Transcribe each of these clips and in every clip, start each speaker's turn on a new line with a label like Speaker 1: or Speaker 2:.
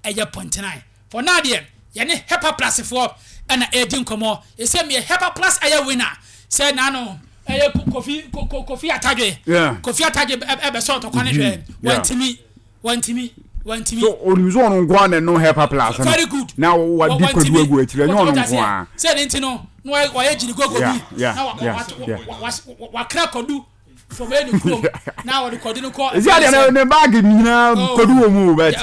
Speaker 1: ɛyɛ point nine. For now deɛ, yɛne Hepa Plus foɔ ɛna ɛredi nkɔmmɔ. Ɛsɛ meyɛ Hepa Plus ɛyɛ winner sɛ naano ɛyɛ Kofi Kofi Atadwe. Kofi Atadwe ɛbɛsɔ ɔtɔkwa ne hwɛ. Wantumi. Wantumi. Wantumi.
Speaker 2: So onim sɛ ɔno nko ara na ɛnom Hepa Plus no.
Speaker 1: Very good.
Speaker 2: Na wadi kwadu agu akyire, ɛnyɛ ɔno nko ara.
Speaker 1: Sɛ ne nti no, na wayɛ gyiri gogo bi. Na wakra kwadu from ɛyɛ ne kurom. Na wɔde kwadu no kɔ.
Speaker 2: Ɛsi adeɛ no ne baagi nyinaa kwadu wɔ mu bɛt.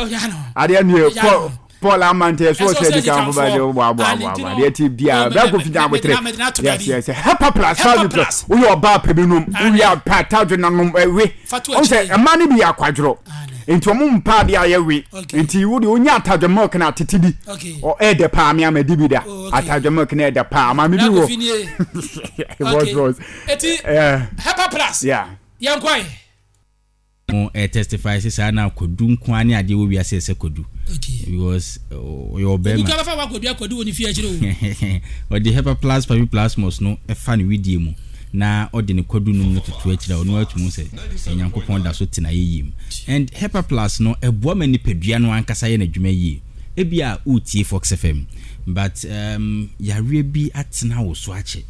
Speaker 2: Adeɛ no yɛ kɔ Paul Amante ɛso ɔsɛ di kan fo ba de bɔ abɔ abɔ abɔ adeɛ ti bia bɛ ko fita abotere yes yes Hepa Plus five plus woyɛ ɔbaa pɛ bi nom woyɛ apɛ atadwe na nom ɛwe ɔn sɛ ɛma no bi yɛ akwadworɔ nti ɔmo mpa adeɛ a yɛwe nti wo deɛ wonya atadwe milk na atete bi ɔ ɛɛdɛ paa me ama di bi da atadwe milk na ɛɛdɛ paa maame bi wɔ
Speaker 1: boss boss eti Hepa Plus yɛn kɔ yi.
Speaker 3: Mo ɛ testify sɛ saa na kwadu nko ara ne adeɛ wɔ wiase ɛsɛ kwadu because ɔyɛ ɔbɛrima.
Speaker 1: Obi kura bɛfa wakɔdua kwadu wɔ ne fie akyire
Speaker 3: o. Ɔde Hepaplus paviplasmus no fa ne wedeɛ mu na ɔde ne kwadu nom no toto akyire a ɔno ara tumi hu sɛ Nyankopɔn da so te n'ayɛyie mu. And Hepaplus no ɛboa ma nipadua no ankasa yɛ n'adwuma yie. Ebia woretie Fox FM but um, yareɛ bi atena wo so akyɛ.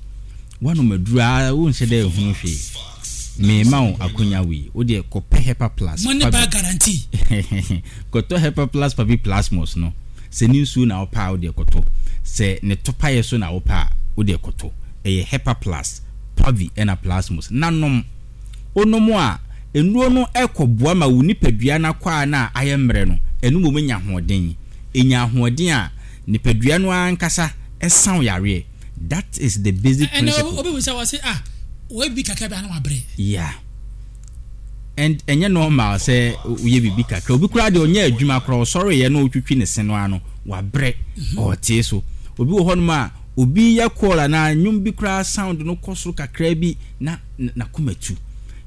Speaker 3: Woanom aduru a wonhyɛ da nhunu hwee. Merema wo akonya wei, wo deɛ kɔpɛ Hepa Plus
Speaker 1: Money
Speaker 3: Pavi
Speaker 1: back guarantee.
Speaker 3: Kɔtɔ Hepa Plus Pavi Plasmos no. Sɛ ne nsuo na wopɛ a, wo deɛ kɔtɔ. Sɛ ne topaeɛ so na wopɛ a, wo deɛ kɔtɔ. Ɛyɛ Hepa Plus, Pavi ɛna Plasmos. Na nom. Wonom a, nnuro no kɔboa ma wo nipadua no akwaa no a ayɛ mmerɛ no, ɛno mmom nya ahoɔden. Ɛnya ahoɔden a, nipadua no ara ankasa sa wo yareɛ. That is the basic principle.
Speaker 1: Ɛnna obi bisa wɔ se ah wɔyɛ biribi kakra bi a na wabrɛ.
Speaker 3: Yeah. And ɛnyɛ normal sɛ woyɛ biribi kakra. Obi koraa deɛ ɔnyɛ adwuma koraa ɔsɔreeɛ na ɔtwitwi ne se no ano wabrɛ mhm. ɔtee so. Obi wɔ hɔnom a obi yɛ call anaa nnwom bi koraa sound no kɔ soro kakra bi na n'akoma tu.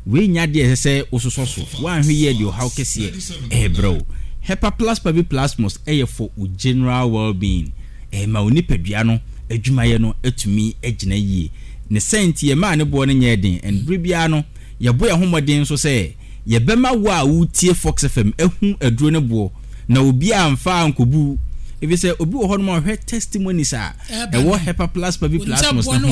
Speaker 3: Wei nyɛ adeɛ a ɛsɛ sɛ wososɔ so. Woanhwɛ yie a ɛde ɔhaw kɛseɛ rebrɛ wo. Hepaplus paviplasmus yɛ for wo general well-being. Ɛma wo nipadua no adwumayɛ no tumi gyina yie. Ne saa nti yɛmaa ne boɔ no nyɛɛ den and berɛ biara no yɛbɔ yɛn ho mmɔden nso sɛ yɛbɛma wo a woretie Fox FM ahu aduro no boɔ na obiara amfa ankɔbu wo. Ɛfiri sɛ obi wɔ hɔnom a ɔhwɛ testimonies a ɛwɔ Hepaplus paviplasmus no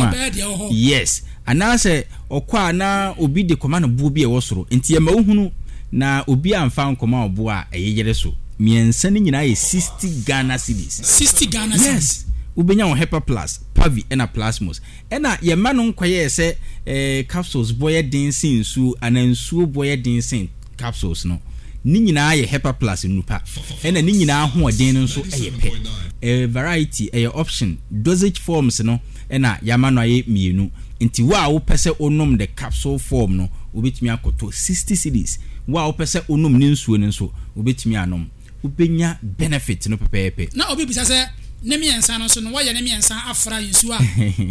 Speaker 3: ho a, yes, Anaasɛ ɔkɔ a na obi de kɔma no boɔ bi a ɛwɔ soro. Enti ɛma wohunu na obi amfa ankɔma wo boɔ a ɛyeyere so. Mmiɛnsa no nyinaa yɛ 60 Ghana cedis.
Speaker 1: 60 Ghana cedis.
Speaker 3: Yes. Wobɛnya wo Hepa Plus, Pavi ɛna Plasmos. Ɛna yɛmma no nkɔyɛɛ sɛ eh, capsules boɔ yɛ den sen nsuo anaa nsuo boɔ yɛ den sen capsules no. Ne nyinaa yɛ Hepa Plus nnupa. Ɛna ne nyinaa ahoɔden no nso yɛ pɛ. Ɛyɛ variety, ɛyɛ option. Dosage forms no na yɛama no ayɛ mmienu. Nti wo a wopɛ sɛ wonom the capsule form no, wobɛtumi akɔtɔ 60 cedis. Wo a wopɛ sɛ wonom ne nsuo no nso, wobɛtumi anom. Wobɛnya benefit no pɛpɛɛpɛ.
Speaker 1: Na obi bisa sɛ, Ne mmiɛnsa no nso no, wɔyɛ ne mmiɛnsa afra nsuo a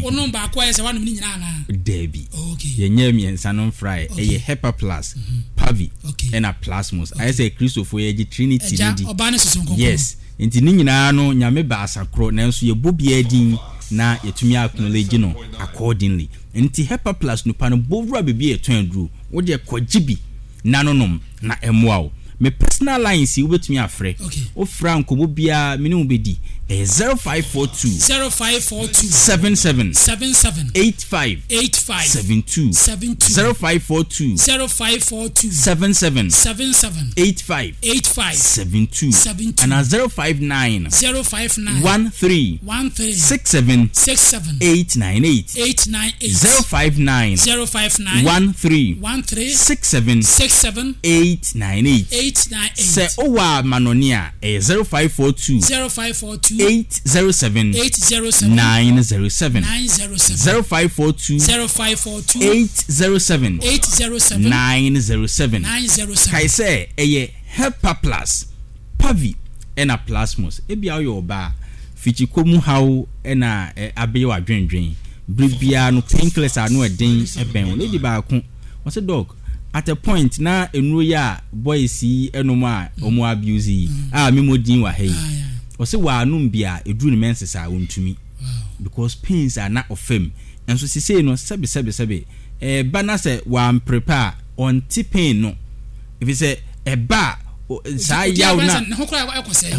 Speaker 1: wonom baako a ɛyɛ sɛ woanom ne nyinaa anaa?
Speaker 3: Daabi.
Speaker 1: Oh, okay.
Speaker 3: Yɛnyɛɛ mmiɛnsa no mfraeɛ.
Speaker 1: Okay.
Speaker 3: Ɛyɛ Hepa Plus, Pavi,
Speaker 1: Okay.
Speaker 3: ɛna Plasmos. Ayɛ sɛ Kristofoɔ yɛgye Trinity no
Speaker 1: Agya,
Speaker 3: di.
Speaker 1: Ɔba ne Susu Kronkron.
Speaker 3: Yes. Nti ne nyinaa no Nyame baasa korɔ nanso yɛbɔ biara din na yɛtumi acknowledge no accordingly. Nti Hepa Plus nupa no bɔ wura baabi a yɛtɔn aduro, wo deɛ kɔgye bi na no nom na ɛmmoa wo. Me personal lines yi wobɛtumi afrɛ, wo frɛ a nkɔmmɔ biara me ne wo bɛdi, ɛyɛ 0542
Speaker 1: 0542
Speaker 3: 77
Speaker 1: 77
Speaker 3: 85
Speaker 1: 85
Speaker 3: 72,
Speaker 1: 72
Speaker 3: 0542
Speaker 1: 0542
Speaker 3: 77
Speaker 1: 77
Speaker 3: 85
Speaker 1: 85
Speaker 3: 72
Speaker 1: 72
Speaker 3: anaa 059
Speaker 1: 059
Speaker 3: 13
Speaker 1: 13
Speaker 3: 67
Speaker 1: 67
Speaker 3: 898
Speaker 1: 898
Speaker 3: 059
Speaker 1: 059
Speaker 3: 13
Speaker 1: 13
Speaker 3: 67
Speaker 1: 67
Speaker 3: 898
Speaker 1: 898
Speaker 3: Sɛ wowɔ amanɔne a, ɛyɛ 0542
Speaker 1: 0542
Speaker 3: 807
Speaker 1: 807
Speaker 3: 907
Speaker 1: 907
Speaker 3: 0542
Speaker 1: 0542
Speaker 3: 807
Speaker 1: 807
Speaker 3: 907
Speaker 1: 907
Speaker 3: Kae sɛ ɛyɛ Hepa Plus, Pavi ɛna Plasmos. Ebia woyɛ ɔbaa, fikyikɔ mu haw na abɛyɛ w'adwendwen. Bere biara no painkillers a ano ɛden bɛn wo. Lady baako, ɔse Doc, at a point na nnuro yi a boys yi nom a wɔn abuse yi a memmɔ din wɔ ha yi, ɔse wɔanom bi a ɛduru ne menses a ɔntumi because pains a na ɔfa mu. Nso sesei no sɛbe sɛbe sɛbe ɛɛba na sɛ wamprepare a ɔnte pain no. Efisɛ ɛba a, saa yaw no a.
Speaker 1: Ne ho koraa ɛkɔ sɛe.